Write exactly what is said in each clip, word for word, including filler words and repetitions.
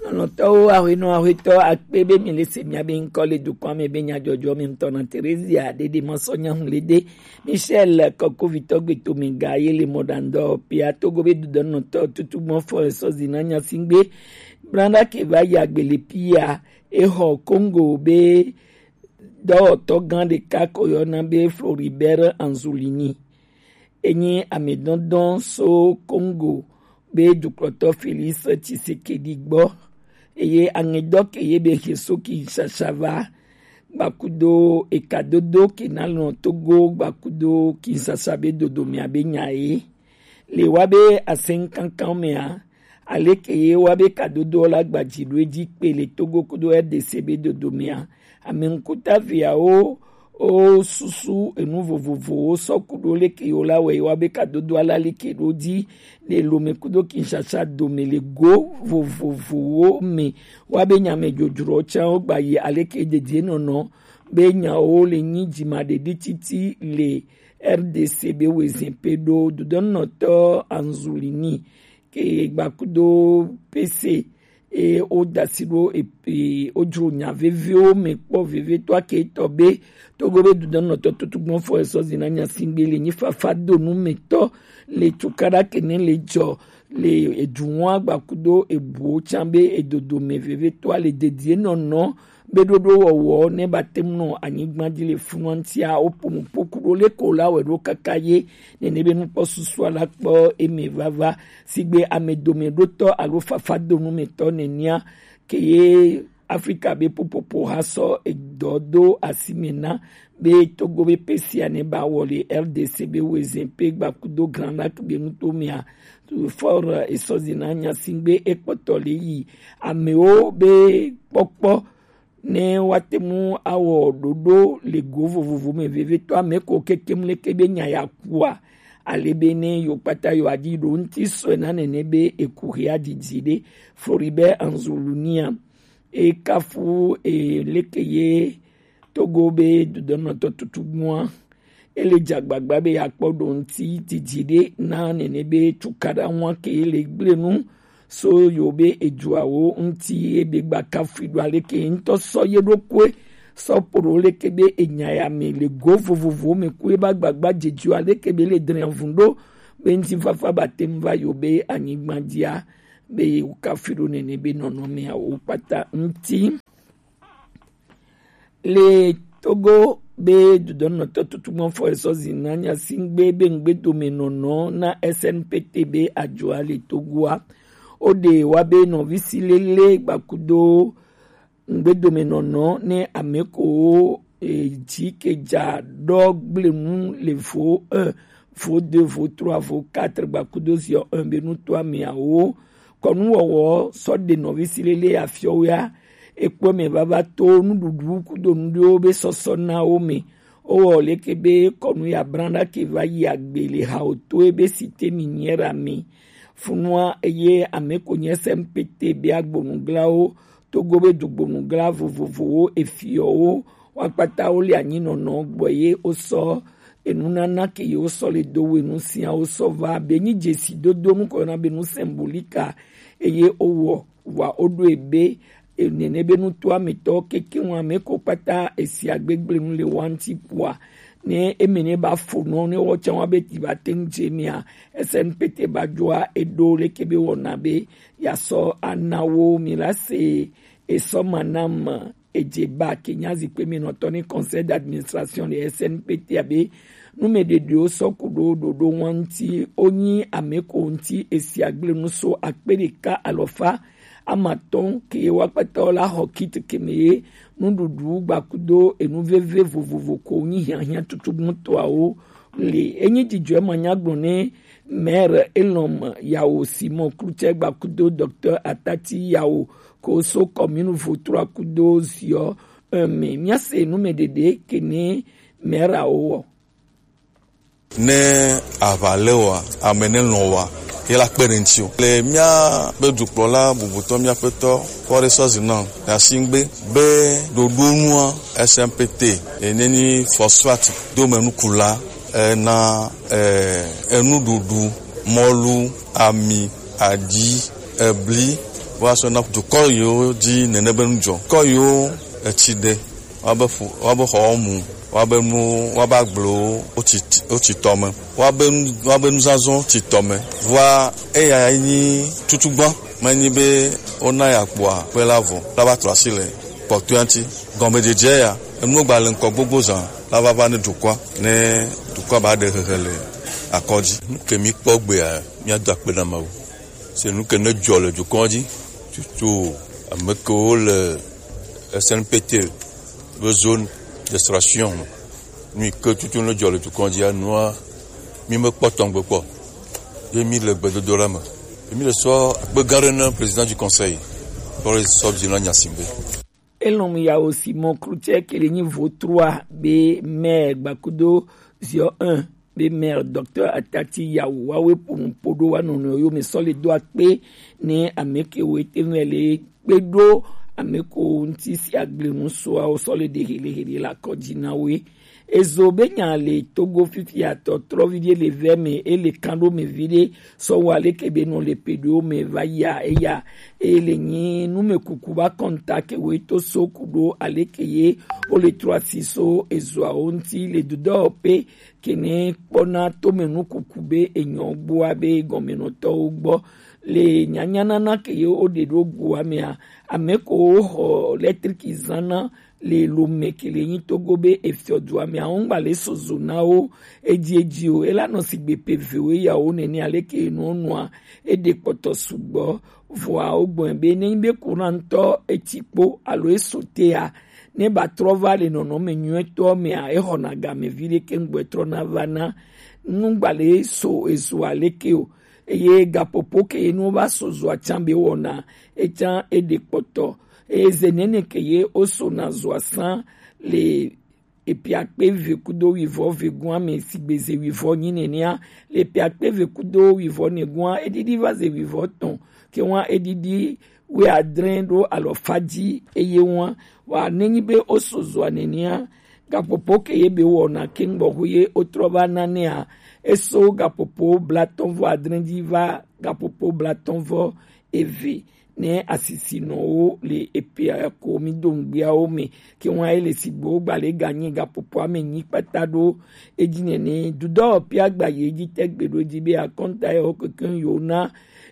Lɔlɔ̃tɔwo, ahwenɔ ahwetɔ akpe be mi le se mia be ŋkɔ le dukɔa me be nyajɔjɔ mi ŋutɔ na Terezia ɖeɖe mɔ sɔ nyahun le de Michel kɔkovitɔ gbeto mi ga ye le mɔɖaŋdɔ pia togo be dudɔnɔtɔ tutu gbɔn fɔ esɔ zina nyasingbe blanda ke va yi agbe le pia exɔ Congo be dɔwɔtɔ gã ɖeka ko yɔna be Floribert Anzulini. Enyi amedɔndɔn so Congo be dukplɔtɔ Félix Tshisekedi gbɔ. Eye angedɔ ke ye be he so Kinshasa va gbakudo ekadodo ke na lɔn Togo gbakudo Kinshasa be dodo mia be nya ye. Le wa be asɛnkankan mea, aleke ye wa be kadodo la gbaji ɖo edzi kpe le Togo kudo R D C be dodo mea, ame ŋkuta viawo o susu enu vovovowo sɔ kudo leke yo la wɛ wa be kadodo la leke ɖo dzi le Lome kudo Kinshasa dome le go vovovowo me wa be nyame dzodzro tsa wo gba yi aleke dedie nɔnɔ be nyawo le nyi dzima ɖeɖi titi le R D C be wezin pe ɖo dudɔnɔtɔ Anzulini ke gbakudo P C e o dasi ɖo e, e o dzro nya veviwo me kpɔ vevietɔ ake tɔ be togo be dudɔnɔtɔ tutugbɔn fɔ esɔ zina nya singbe le nyi fafa do nu me tɔ le tukaɖa kene le dzɔ le eduwa gbakudo ebuwo tsa be edodo me vevietɔ le dedie nɔnɔ be ɖoɖo wɔwɔ ne ba te ŋu nɔ anyigba dzi le funu ŋutia wo ƒo nu ƒo ku ɖo leko la wɛ ɖo kaka ye nene be nukpɔ susua la kpɔ eme vava sigbe ame dome ɖotɔ alo fafa do nu me tɔ nenia ke ye Afrika be popopo ha sɔ edɔ do asi me na be Togo be pesia ne ba wɔ le R D C be wezin pe gbakudo Grand Lac be nuto mea fɔr esɔzi na nya singbe ekpɔtɔ le yi amewo be kpɔkpɔ ne woate ŋu awɔ ɖoɖo le go vovovo me vevitɔ ame ko kekem leke be nya ya kua ale be ne yewo kpata yewo aɖi ɖo ŋuti sɔe na nene be eku hea didi ɖe. Floribert Anzulunia ekafu e leke ye Togo be dodonɔtɔ tutugbua ele dze agbagba be yeakpɔ ɖo ŋuti didi ɖe na nene be tukaɖa ŋua ke le gblẽ nu so yo be eduawo ŋuti ebe gba kafui ɖo aleke ŋutɔ sɔ ye ɖokue sɔ ƒo ɖo leke be enya ya me le go vovovo me ku ebe agbagba dzedzi aleke be le dre avun ɖo be ŋutifafa ba te ŋu va yo be anyigba dzia be wo kafui ɖo nene be nɔnɔmeawo kpata ŋuti. Le Togo be dodonɔtɔ tutugbɔn fɔ esɔ zina nya singbe be ŋgbedomenɔnɔ na S N P T be ajoa le Togoa. O ɖe wa be nɔvi si lele gbakudo ŋgbedomenɔnɔ ne ame ko e, dzi ke dza ɖɔ gblẽ nu le vo un, vo deux, vo trois, vo quatre gbakudo ziɔ un be nuto ameawo kɔnuwɔwɔ sɔ ɖe nɔvi si lele afiɔwea ekpɔ me vava to nuɖuɖu kudo nuɖewo be sɔsɔ na wo me. Owɔ leke be kɔnu ya branda ke va yi agbe le ha o to ebe si te mi nyɛ ra mi funua eye ame ko nyɛ sɛ mpete be agbonuglawo togo be dugbonugla vovovowo efiɔwo wa kpata wo le anyinɔnɔ gbɔ ye wo sɔ enunana ke ye wo sɔ le do we nu sia wo sɔ va be nyi dzesi dodo nu kɔ na be nu symbolique eye wo wɔ wa wo ɖo ebe nene be nutoa me tɔ keke ŋu ame ko kpata esi agbegble nu le wa ŋuti kpua ne eme ne ba fo nɔ ne wɔ tsɛ wa be ti ba te ŋu dze mia S N P T ba dzɔa eɖo leke be wɔna be ya sɔ ana wo mi la se esɔ ma na me edze ba ke nya zikpe mi nɔtɔ ne conseil d'administration le S N P T abe numeɖeɖewo sɔ ku ɖo ɖoɖo ŋua ŋuti wonyi ame ko ŋuti esi agble nu so akpe ɖeka alɔfa amatɔn ke wa kpata wo la xɔ kit ke me ye nuɖuɖu gbakudo enu veve vovovo ko nyi hiahiã tutugbɔtɔawo le enyi dzidzɔe ma nya gblɔ ne maire Elom Yawo Simon Klutsɛ gbakudo docteur Atati Yawo ko so commune Votrua kudo ziɔ un me. Míase numeɖeɖe ke ne maire awo wɔ. Ne aʋa le wa, ame ne lɔ̃ wa, ye la kpe ɖe ŋuti o. Le míaƒe dukplɔla bubutɔ, míaƒetɔ Kɔre Sɔzi nɔ Yasingbe be ɖoɖonua S M P T ene nyi phosphate domenukula ena eh, enuɖuɖu, mɔlu, ami, aɖi, ebli, Wa so na dukɔ yiwo dzi nene be nu dzɔ. Kɔ yiwo etsi ɖe, wa be ƒo, wa be xɔwo mu, wa be nu, wa be agblewo wotsi, wotsi tɔ me, wa be nu, wa be nuzazɔ tsi tɔ me. Vɔa eya nyi tutugbã, menyi be wona ya kpɔa kpe la vɔ la va trɔ asi le kpɔtɔea ŋuti. Gɔmedzedze ya, enuwo gba le ŋkɔ gbogbo zã la va va ne dukɔa, ne dukɔa ba ɖe hehe le akɔ dzi. Nu ke mi kpɔ gbea, mia do akpe na Mawu. Se nu ke ne dzɔ le dukɔa dzi, tutu ame kewo le S N P T be zone d'extraction me. Nu yi ke tutu ne dzɔ le dukɔa dzi, anua, mi me kpɔ tɔngbe kpɔ. Ye mi le gbedodoɖa me. Ye mi le sɔ akpe gã ɖe na président du conseil. Kpɔ ɖe sɔ dzi na nya si be. Elɔn yawo Simon Cloutier ke le nyi vo trois be maire gbakudo zio un be maire docteur Atati yawo wawe ponu podo wa nɔnɔ yo me sɔ le do akpe ne ame ke wo ete me le kpe ɖo ame ko ŋuti si agble nu soa wo sɔ le ɖe hele hele la kɔ dzi na we. Ezo be nya le Togo fifia tɔ trɔvi ɖe le vɛ me ele kan ɖo me vi ɖe sɔ wa leke be nɔ le pe ɖo me va ya eya e le nyi nu me kuku ba kɔnta ke we to so ku ɖo aleke ye o le trɔ asi so ezoawo ŋuti le dudɔ pe kene kpɔna to me nu kuku be enyɔ gboa be gɔmenɔtɔwo gbɔ le nyanyanana ke ye o ɖe ɖo goa mea ame ko wo xɔ lɛtriki zana le lome ke le nyi Togo be efiɔ dua me awo ŋgba le sozo na wo edzi edzi o. Ela nɔ sigbe pe ve wo eya wo nene aleke enɔ nɔa eɖe kpɔtɔ sugbɔ. Vɔa wo gbɔn be ne nyi be kuna ŋutɔ etsi kpo alo eso tea ne ba trɔ va le nɔnɔme nyuietɔ mea exɔna game vi ɖe ke ŋgbɔ etrɔ na va na nu ŋgba le so ezo aleke o. Eye gapopo ke ye nu va so zoa tsan be wɔna etsan eɖe kpɔtɔ. Eye ze nene ke ye wo sona zoa san le epiakpe ve kudo wivɔ ve gua me sigbe ze wivɔ nyi nenea le epiakpe ve kudo wivɔ ne gua edidi va ze wivɔ tɔn ke wa edidi wi adre ɖo alɔfa dzi eye wa wa nenyi be wo so zoa nenea gapopo ke ye be wɔna ke ŋgbɔ ho ye wo trɔ va nanea eso gapopo blatɔn vɔ adre dzi va gapopo blatɔn vɔ eve ne asisinɔwo le epea ko mi do ŋgbeawo me ke wa ele sigbe wo gba le ganyi gapopoa me nyi kpata ɖo edzi nene dudɔ pia gba ye dzi te gbe ɖo dzi be akɔnta ye wo keke yo na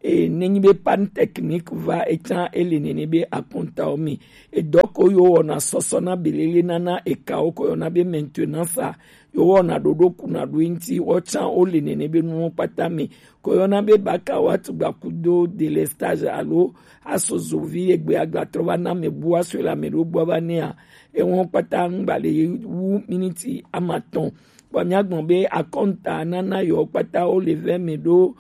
e nenyi be pan technique va etsa ele nene be akɔntawo me edɔ ko yo wɔna sɔsɔ na belele nana ekawo ko yɔna be maintenance a yo wɔna ɖoɖo kuna ɖo ŋuti wɔtsa wo le nene be nuwo kpata me ko yɔna be baka wa tugba kudo délestage alo asozo vi egbe agba trɔ va na me bu aso le ame ɖo gbɔ va nea ewo kpata ŋgba le wu miniti amatɔn. Kpɔ mia gbɔn be akɔnta nana yɔ kpata wo le vɛ me ɖo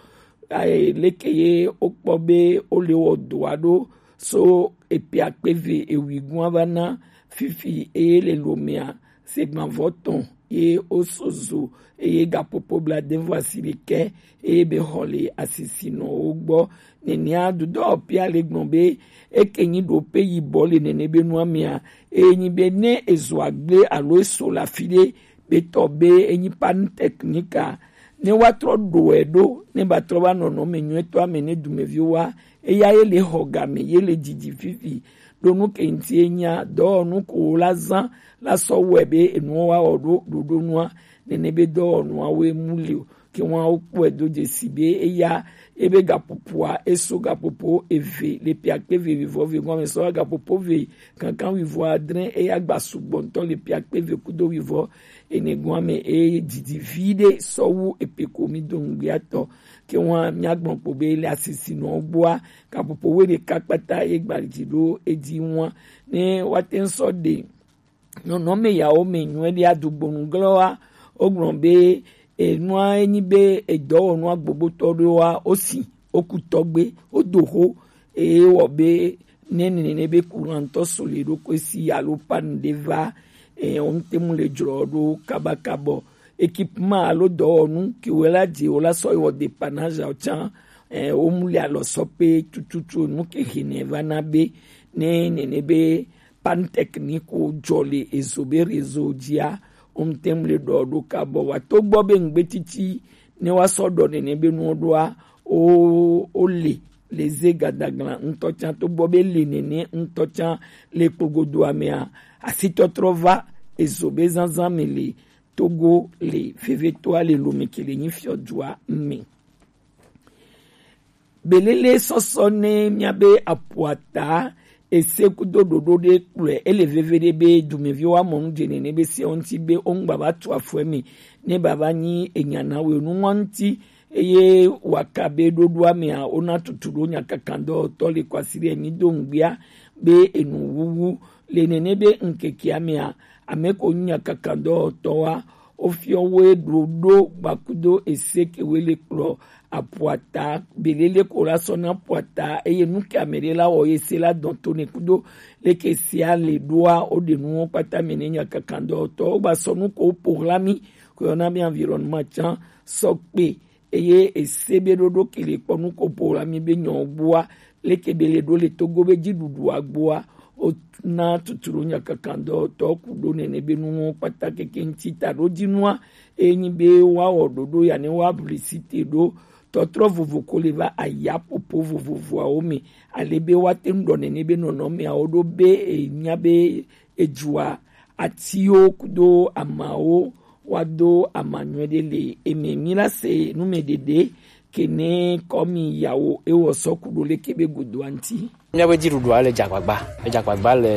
leke ye wo kpɔ be wo le wɔ doa ɖo so epe akpe ve ewi gua va na fifi eye le lomea segbanvɔ tɔn ye wo so zo eye gapopo bla devo asi ɖekɛ eye be xɔ le asisinɔwo gbɔ. Nenea dudɔ pia le gbɔn be eke nyi ɖo pe yibɔ le nene be nua mea eye nyi be ne ezo agble alo eso le afi ɖe be tɔ be enyi panne technique a ne wa trɔ ɖo ɛ ɖo ne ba trɔ va nɔnɔ me nyuietɔ ame ne dumeviwo wa eya ye le xɔ game ye le didi fifi ɖo nu ke ŋuti enya dɔwɔnu ko wo la zã la sɔ wɔe be enuwo wa wɔ ɖo ɖoɖo nua nene be dɔwɔnua wo emu li o ke wa wo kpɔe do dzesi be eya ebe gaƒoƒoa eso gaƒoƒo eve le ƒe akpe eve vivɔ ve gɔme sɔ gaƒoƒo ve kankan vivɔ adre eya gba sugbɔ ŋutɔ le ƒe akpe eve kudo vivɔ ene gɔme eye didi vi ɖe sɔ wu epe ko mi do ŋgbia tɔ ke wa mia gbɔn kpo be le asisinɔ gbɔa gaƒoƒo wo ɖeka kpata ye gba dzi ɖo edzi wa ne wa te sɔ ɖe nɔnɔme yawo me nyuie ɖe adugbonu glɔwa wogblɔ be enua enyi be edɔwɔnua gbogbotɔ ɖewoa wosi woku tɔgbe wodo ho eye wɔ be ne nene be courant tɔ so le ɖokui si alo panne ɖe va eh, wo ŋute mu le dzrɔ ɖo kabakabɔ équipement alo dɔwɔnu ke wo la dze wo la sɔ wɔ dépannage awo tsã eh, wo mu le alɔ sɔ pe tututu nu ke hene va na be ne nene be panne technique wo dzɔ le ezo be réseau dzia wo ŋute mu le ɖɔ ɖo kabɔ wa to gbɔ be ŋgbe titi ne wa sɔ ɖɔ nene be nuwo ɖoa wo wo le le ze gadaglan ŋutɔ can to gbɔ be le nɛnɛ ŋutɔ can le kpogodoa mea, asitɔtrɔ va ezo be zanzan me le Togo le vevetoa le Lomé ke le nyi fiɔdua me. Belele sɔsɔ ne mía be apuata ese kudo ɖoɖo ɖe kplɔe ele veve ɖe be dumeviwo amɔ nu dze nene be se ŋuti be woŋgba va tu afɔe me ne baba nyi enya na wo enu ŋuti eye waka be ɖoɖoa mea wona tutu ɖo nyakakandɔtɔ le kwasi ɖe mi do ŋgbia be enu wuwu le nene be ŋkekea mea ame ko nya kakandɔtɔ wa Wofiɔ wo ɖo ɖo gbakudo ese ke we le kplɔ apuata belele ko la sɔ na apuata eye nu ke ame ɖe la wɔ ye se la dɔn to ne kudo leke sia le ɖoa wo ɖe nuwo kpata me ne nya kakandɔtɔ wo gba sɔ nu ko wo po hla mi ko yɔ na mi environnement can sɔ kpe eye ese be ɖoɖo ke le kpɔ nu ko po hla mi be nyɔ gbua leke be le ɖo le Togo be dziɖuɖua gbua wona tutu ɖo nyakakandɔtɔ ku ɖo nene be nuwo kpata keke ŋuti ta ɖo dzinua enyi be woawɔ ɖoɖo ya ne woabli site ɖo tɔtrɔ vovo ko le va aya popo vovovoawo me ale be woate ŋu ɖɔ nene be nɔnɔmeawo ɖo be enya be edzua atiwo kudo amawo woado amanyɔe ɖe le eme. Mi la se numeɖeɖe ke ne kɔmi yawo ewɔ sɔ ku ɖo leke be godoa ŋuti. Míabe dziɖuɖua le dze agbagba, edze agbagba le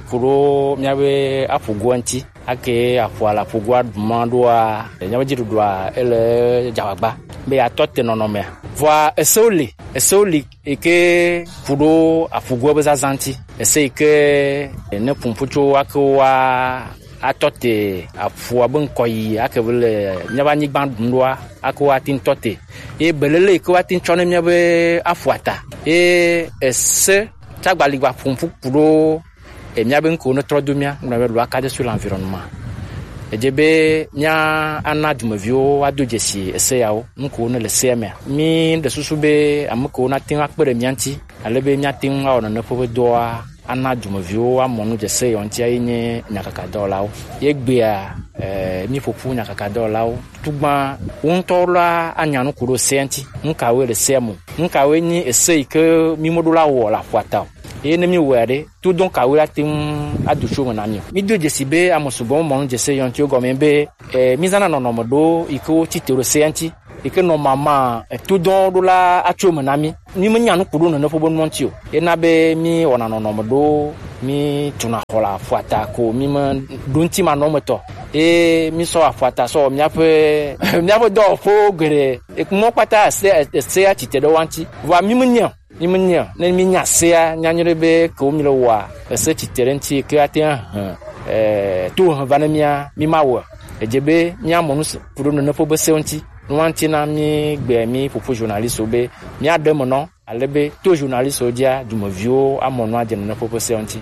ku ɖo míabe aƒugoa ŋuti. Ake aƒua le aƒugoa ɖuma ɖoa, míabe dziɖuɖua ele dze agbagba be yeatɔ te nɔnɔmea. Vɔa esewo li, esewo li yi ke ku ɖo aƒugoa be zazã ŋuti. Ese yi ke ne ƒuƒu tso ake wa atɔ te aƒua be ŋkɔ yi ake be le míabe anyigba ɖum ɖoa ake woate ŋu tɔ te. Ye belele yi ke woate ŋu tsɔ ne míabe aƒua ta. Ye ese tsagba li gba ƒu ƒu ku ɖo e míabe ŋkewo ne trɔ do mía ŋgblɔ be loi cadre sur l'environnement. Edze be mía ana dumeviwo woado dzesi ese yawo ŋkewo ne le sea mea. Mí ɖe susu be ame kewo nate ŋu akpe ɖe mía ŋuti ale be míate ŋu awɔ nene ƒe be dɔa ana dumeviwo woamɔ nu dze ese yawo ŋuti ayi nye nyakakadɔwɔlawo. Ye gbea eh, míƒoƒu nyakakadɔwɔlawo. Tugbã wo ŋutɔwo la anya nu ku ɖo sea ŋuti. Nu kawoe le sea me? Nu kawoe nye ese yi ke mí meɖo la wɔ le aƒua ta o? Eye ne míwɔe ɖe, todɔn kawoe ate ŋu ado tso eme na mí o? Mído dzesi be ame sugbɔ mɔ nu dze ese yawo ŋuti gɔme be eh, mízãna nɔnɔme ɖewo yi ke wotsi te ɖo sea ŋuti. Yi ke nɔ mama etodɔn ɖo la atso eme na mí. Mí menya nu ku ɖo nene ƒe be nua ŋuti o. Ena be mí wɔna nɔnɔme ɖo, mí tuna xɔ le aƒua ta ko mí me ɖo ŋuti manɔmetɔ. Eye mí sɔ aƒua ta sɔ wɔ míaƒe míaƒe dɔwɔƒewo geɖe. Mɔ kpata ese ese atsi te ɖe wa ŋuti. Vɔa mí menya o. Mí menya o. Ne mí nya sea, mía nyɔ ɖe be ke wo mí le wɔa, ese tsi te ɖe ŋuti ke ate ŋu ahe eh, to he va ne mía mí ma wɔe. Edze be mía mɔ nu se ku ɖo nene ƒe be se ŋuti. Nua ŋuti na mí gbe mí ƒoƒu journaliste be mía ɖe me nɔ ale be to journaliste dzia dumeviwo amɔ nua dze nene ƒe be se ŋuti.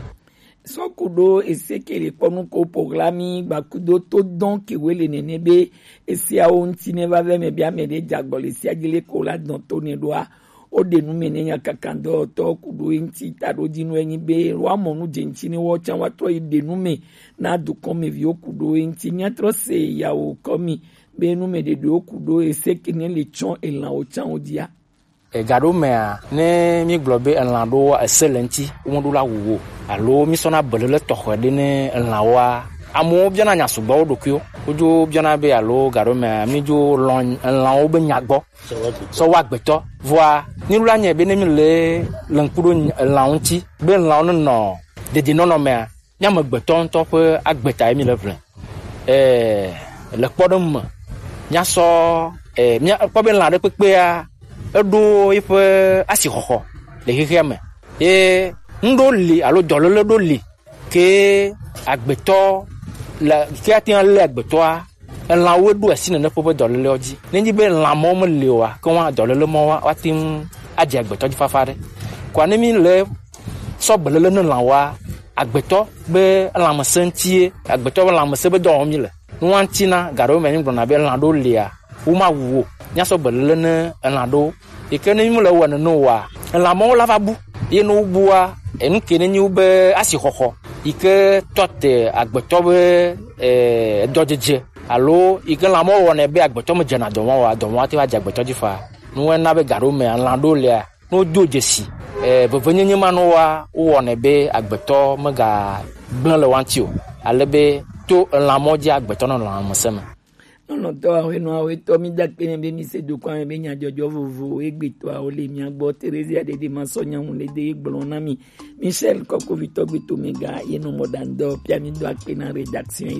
Sɔ ku ɖo ese ke le kpɔ nu ko po ɣla mí gbakudo to dɔn ke we le nene be esiawo ŋuti ne va vɛ me be ame ɖe dze agbɔ le esia dzi le ko la dɔn to ne ɖoa. Woɖe nu me ne nyakakandɔtɔ ku ɖo eŋuti taɖodzinue nyi be woamɔ nu dze ŋuti ne woawo tsã woatrɔ yi ɖe nu me na dukɔmeviwo ku ɖo eŋuti. Míatrɔ se yawo kɔmi be nu me ɖeɖewo ku ɖo ese ke ne le tsɔ elãwo tsã wo dzia. Ega ɖo mea, ne mígblɔ be elã ɖo ese le ŋuti, womeɖo la wu wo alo mísɔna belele tɔxɛ ɖe ne elãwoa, amewo biɔna nya sugbɔ wo ɖokuiwo. Wodzo biɔna be alo ga ɖo mea, mídzo lɔn elãwo be nya gbɔ. Sɔ wa agbetɔ. Vɔa, míɖo la nyae be ne míle le ŋku ɖo elãwo ŋuti, be elãwo nenɔ dedienɔnɔ mea, mía amegbetɔ ŋutɔ ƒe agbe ta ye míle ʋlɛ. Ɛɛ, le kpɔɖeŋu me, míasɔ, ɛɛ, míakpɔ be lã ɖe kpekpea, eɖo eƒe asixɔxɔ le xexea me. Ye ŋɖo li alo dɔléle ɖo li ke agbetɔ le ke ate ŋu alé agbetɔa, elãwoe ɖo asi nene ƒe ƒe dɔlélewo dzi. Nenye be lã mawo meli oa, ke woa dɔléle mawo woa- woate ŋu adze agbetɔ dzi fafa ɖe. Koa ne mi le sɔ beléle ne lã woa, agbetɔ be lãmesẽ ŋutie, agbetɔ be lãmesẽ be dɔ wɔm mi le. Nua ŋuti na gaɖewo me mi gblɔna be lã ɖewo lia, womawu wo. Míasɔ beléle ne elã ɖewo. Yi ke ne mímele wɔe nene oa, elã mawo la va bu. Ye ne wobua, enu ke ne nyi wobe asixɔxɔ yi ke tɔ te agbetɔ be, eh, dɔdzedze alo yi ke lã mawo wɔnɛ be agbetɔ me dzena dɔ mawo oa, dɔ mawo ate va dze agbetɔ dzi faa. Nua na be gaɖewo me elã ɖewo lia, Ne wodo dzesi eh, vevenyenye ma ne woa wowɔnɛ be agbetɔ megagblẽ le woa ŋuti o, ale be to elã mɔ dzi agbetɔ nɔ lãmesẽ me. Nɔnɔtɔ awe nɔ awe tɔ mi da kpe ne be mi se do kɔ ame be nyadzɔdzɔ vovo egbetɔ awo le mia gbɔ. Teresia dede ma sɔ nyamu le de gblɔ na mi. Michel kɔkovitɔ gbeto mega ye nɔ mɔ dan dɔ pia mi do akpe na rédaction.